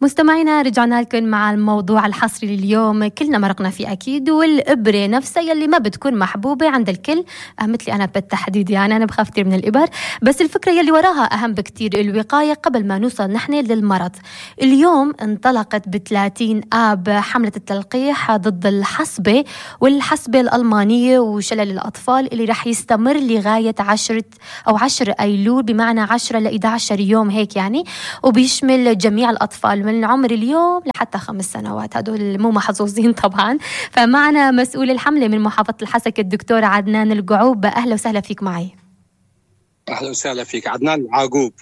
مستمعينا رجعنا لكم مع الموضوع الحصري لليوم، كلنا مرقنا فيه أكيد، والإبرة نفسها يلي ما بتكون محبوبة عند الكل، مثلي أنا بالتحديد. يعني أنا بخاف كتير من الإبر، بس الفكرة يلي وراها أهم بكتير، الوقاية قبل ما نوصل نحن للمرض. اليوم انطلقت ب30 آب حملة التلقيح ضد الحصبة والحصبة الألمانية وشلل الأطفال، اللي رح يستمر لغاية 10 أيلول، بمعنى 10 ل 11 يوم هيك يعني، وبيشمل جميع الأطفال من عمر اليوم لحتى 5 سنوات، هدول مو محظوظين طبعا. فمعنا مسؤول الحملة من محافظة الحسكة الدكتور عدنان القعوب. أهلا وسهلا فيك معي. أهلا وسهلا فيك. عدنان العقوب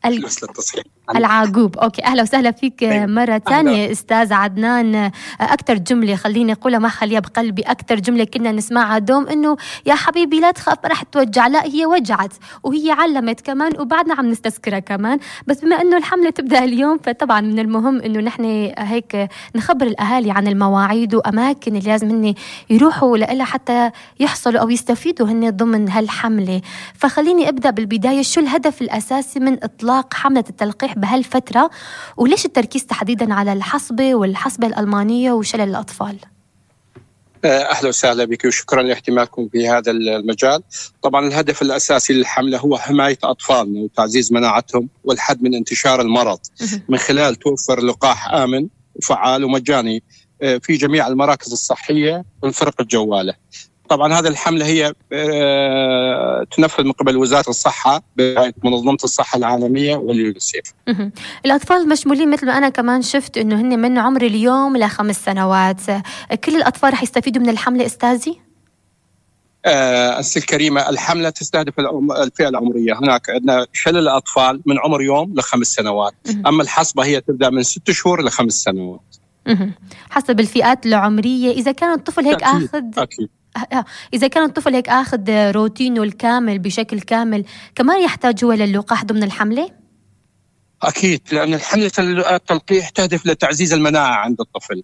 مثل التصحيح العقوب. أوكي، أهلا وسهلا فيك مرة ثانية أستاذ عدنان. أكتر جملة خليني أقولها، ما خليها بقلبي، أكتر جملة كنا نسمعها دوم إنه يا حبيبي لا تخاف ما رح توجع. لا، هي وجعت وهي علمت كمان، وبعدنا عم نستذكرها كمان. بس بما إنه الحملة تبدأ اليوم، فطبعا من المهم إنه نحن هيك نخبر الأهالي عن المواعيد وأماكن اللي لازم هن يروحوا لها حتى يحصلوا أو يستفيدوا هن ضمن هالحملة. فخليني أبدأ بالبداية، شو الهدف الأساسي من إطلاق حملة التلقيح بهالفترة، وليش التركيز تحديدا على الحصبة والحصبة الألمانية وشلل الأطفال؟ أهلا وسهلا بك وشكرا لاهتمامكم في هذا المجال. طبعا الهدف الأساسي للحملة هو حماية أطفالنا وتعزيز مناعتهم والحد من انتشار المرض من خلال توفر لقاح آمن وفعال ومجاني في جميع المراكز الصحية والفرق الجوالة. طبعا هذه الحملة هي تنفذ من قبل وزارة الصحة برعاية منظمة الصحة العالمية واليونيسيف. الأطفال مشمولين مثل ما أنا كمان شفت إنه هن من عمر اليوم ل5 سنوات. كل الأطفال رح يستفيدوا من الحملة أستاذي؟ أستاذ الكريمة، الحملة تستهدف الفئة العمرية. هناك عندنا شلل الأطفال من عمر يوم ل5 سنوات. أما الحصبة هي تبدأ من 6 شهور ل5 سنوات. حسب الفئات العمرية. إذا كان الطفل هيك أكيد. إذا كان الطفل هيك أخذ روتينه الكامل بشكل كامل، كمان يحتاج هو للقاح ضمن الحملة؟ أكيد، لأن حملة التلقيح تهدف لتعزيز المناعة عند الطفل،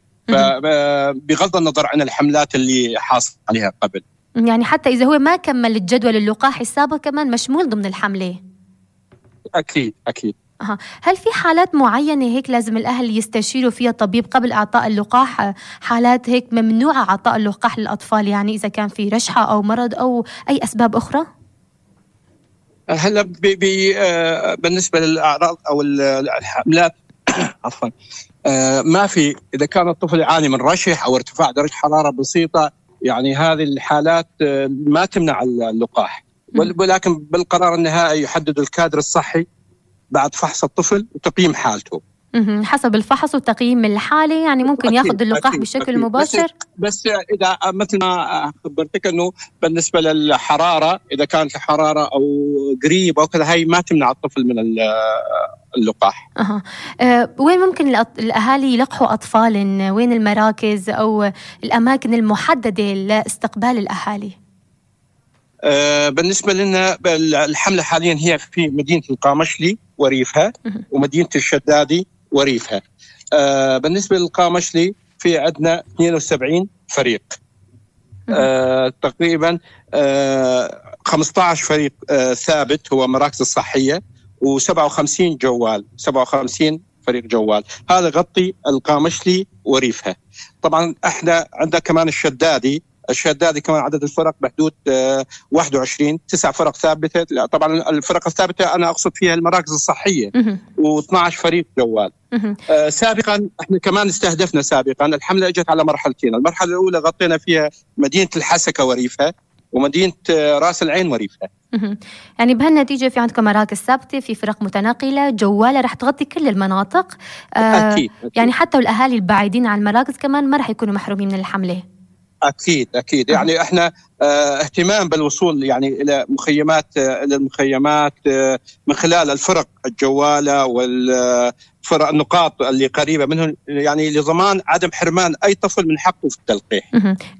بغض النظر عن الحملات اللي حاصل عليها قبل. يعني حتى إذا هو ما كمل الجدول اللقاح السابق كمان مشمول ضمن الحملة؟ أكيد. هل في حالات معينة هيك لازم الأهل يستشيروا فيها الطبيب قبل إعطاء اللقاح؟ حالات هيك ممنوعة إعطاء اللقاح للأطفال، يعني إذا كان في رشحة أو مرض أو أي أسباب أخرى؟ هلا بالنسبة للأعراض أو الحملات عفوا، ما في. إذا كان الطفل يعاني من رشح أو ارتفاع درجة حرارة بسيطة، يعني هذه الحالات ما تمنع اللقاح، ولكن بالقرار النهائي يحدد الكادر الصحي بعد فحص الطفل وتقييم حالته. حسب الفحص وتقييم الحالة، يعني ممكن ياخذ اللقاح بشكل مباشر. بس إذا مثل ما خبرتك أنه بالنسبة للحرارة، إذا كانت الحرارة أو قريب أو كذا، هاي ما تمنع الطفل من اللقاح. وين ممكن الأهالي يلقحوا أطفال؟ وين المراكز أو الأماكن المحددة لاستقبال الأهالي؟ بالنسبة لنا الحملة حاليا هي في مدينة القامشلي وريفها ومدينة الشدادي وريفها. بالنسبة للقامشلي في عندنا 72 فريق، تقريبا 15 فريق ثابت هو مراكز الصحية، و57 جوال، 57 فريق جوال. هذا غطي القامشلي وريفها. طبعا احنا عندنا كمان الشدادي كمان عدد الفرق بحدود 21، 9 فرق ثابتة. لا طبعا الفرق الثابتة أنا أقصد فيها المراكز الصحية، و12 فريق جوال. سابقا احنا كمان استهدفنا الحملة اجت على مرحلتين. المرحلة الأولى غطينا فيها مدينة الحسكة وريفها ومدينة راس العين وريفها. يعني بهالنتيجة في عندكم مراكز ثابتة، في فرق متنقلة جوالة رح تغطي كل المناطق. أكيد. يعني حتى الأهالي البعيدين عن المراكز كمان ما رح يكونوا محرومين من الحملة. أكيد. يعني احنا اهتمام بالوصول يعني إلى المخيمات من خلال الفرق الجوالة والفرق النقاط اللي قريبة منهم، يعني لضمان عدم حرمان أي طفل من حقه في التلقيح.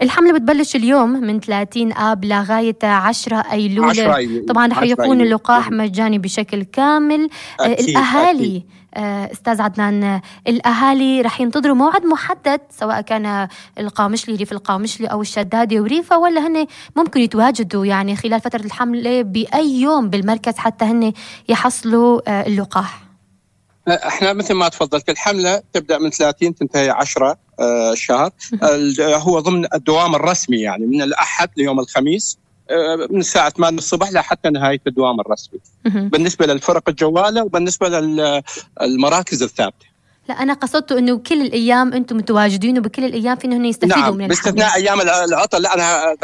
الحملة بتبلش اليوم من 30 آب لغاية 10 أيلول. طبعا رح يكون اللقاح مجاني بشكل كامل. الأهالي أستاذ عدنان، الأهالي رح ينتظروا موعد محدد سواء كان القامشلي ريف القامشلي أو الشدادي وريفة، ولا هن ممكن يتواجدوا يعني خلال فترة الحملة بأي يوم بالمركز حتى هن يحصلوا اللقاح؟ احنا مثل ما تفضلت الحملة تبدأ من 30 تنتهي 10 شهر. هو ضمن الدوام الرسمي، يعني من الأحد ليوم الخميس من الساعة 8 الصبح لحتى نهاية الدوام الرسمي بالنسبة للفرق الجوالة وبالنسبة للمراكز الثابتة. لا أنا قصدت إنه كل الأيام أنتم متواجدين وبكل الأيام في إنه يستفيدوا نعم من باستثناء أيام العطل. لا أنا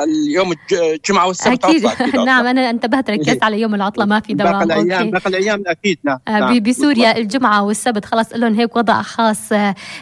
اليوم الجمعة والسبت أكيد. نعم أنا انتبهت ركزت على يوم العطلة ما في دوام. باقي الأيام أكيد. نعم. بسوريا الجمعة والسبت خلاص لهم هيك وضع خاص